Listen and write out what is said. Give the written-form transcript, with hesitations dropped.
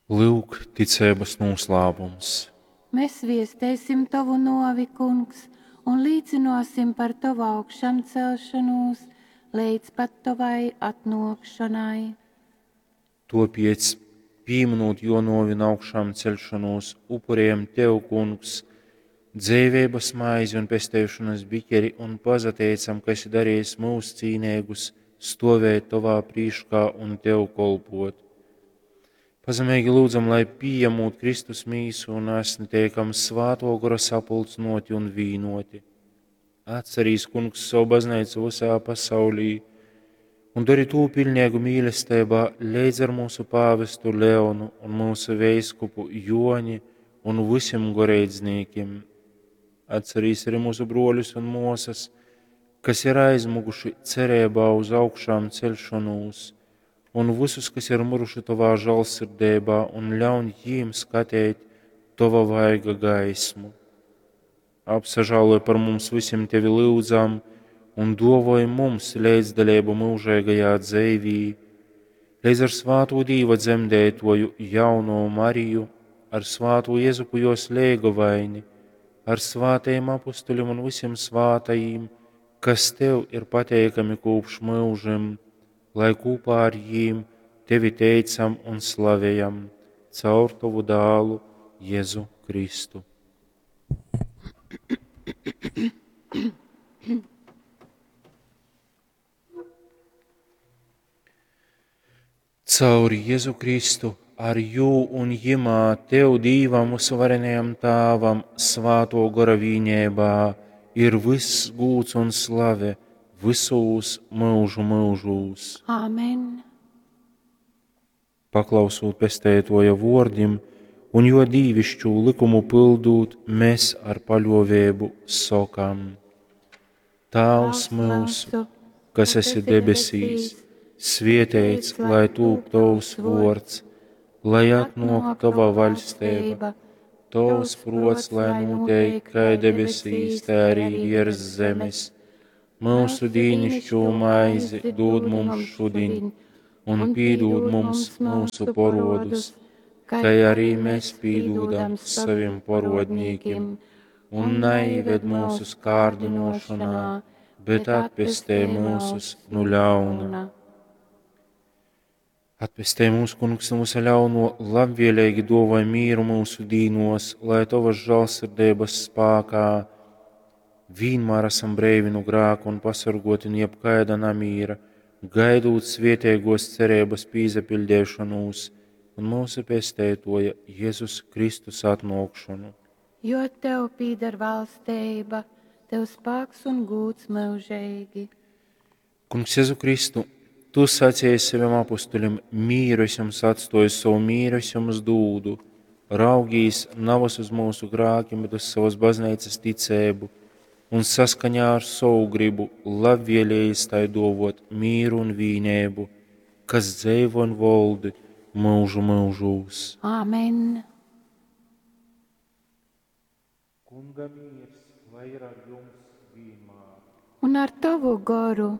Lyuk, ticeibas nūslāpums. Mēs viesteisim tovu nōvi, Kungs, un līcynōsim par tovu augšamcelšonūs leidz pat tovai atnōkšonai. Tōpēc, pīmynūt jō nōvi un augšāmceļšonūs, upurējam Tev, Kungs, dzeiveibas maizi un pesteišonas biķeri un pasateicam, ka esi darījis mūs cīneigus stovēt Tovā prīškā un Tev kolpot. Pazemeigi lūdzam, lai pījamūt Kristus mīsu un asni teikam svāto gora sapulcnoti un vīnoti. Atcerīs, Kungs, savu baznīcu visā pasaulī un dari tū pilnīgu mīlestībā leidz ar mūsu pāvestu Leonu un mūsu veiskupu Joni un visiem goreidznīkim. Atcerīs arī mūsu broļus un mūsas, kas ir aizmuguši cerībā uz augšām celšanos, un visus, kas ir miruši tavā žēlsirdībā, un ļaun jīm skatīt tava vaiga gaismu. Apsažāloj par mums visiem tevi lūdzam, un dovoj mums līdzdalību mūžīgajā dzīvī, līdz ar svāto Dīva dzemdētoju jauno Mariju, ar svāto Jezupu jos lēgovaini, ar svātajiem apustuļiem un visiem svātajiem, kas tev ir pateikami kopš mūžiem, lai kopā ar jīm tevi teicam un slavējam caur tavu dālu Jēzu Kristu. Caur Jēzu Kristu, ar jū un jimā tev Dīvam uzvarenajam Tāvam svāto gora vīnībā ir viss gūts un slave visūs mūžu mūžūs. Āmen. Paklausūt pestētoja vordim un jo dīvišķū likumu pildūt, mēs ar paļovēbu sokam. Tāvs mūsu, kas esi debesīs, svietēts, lai tūp tavs vords, lai atnāk tava vaļstība, tavs prots, lai notiek kā debesīs, tā arī virs zemes. Mūsu dīnišķo maizi dod mums šodien, un pīdod mums mūsu porodus, kā arī mēs pīdodam saviem porodnīkiem, un neieved mūsu kārdinošanā, bet atpestē mūsus no ļauna. Atpestē mūsu kungs no visa ļauno, labvēlīgi dovai mīru mūsu dīnos, lai tavas žēlsirdības spākā vienmēr esam breivi no grāka un pasargoti no jebkaida namīra, gaidot svietēgos cerības pīzapildēšanos un mūsu pestētoja Jēzus Kristus atnākšanu. Jo tev pīdar valstība, tev spēks un gūts mūžīgi. Kungs Jēzu Kristu, tu sacīji saviem apustuļiem, mīru es jums atstoju, savu mīru es jums dūdu. Raugīs navas uz mūsu grākiem, bet uz savas baznīcas ticēbu, un saskaņā ar savu gribu labvēlējis tai dovot mīru un vīnēbu, kas dzeivo un voldi mūžu mūžūs. Āmen. Kunga miers, lai ir ar jums vienmēr. Un ar tavu goru.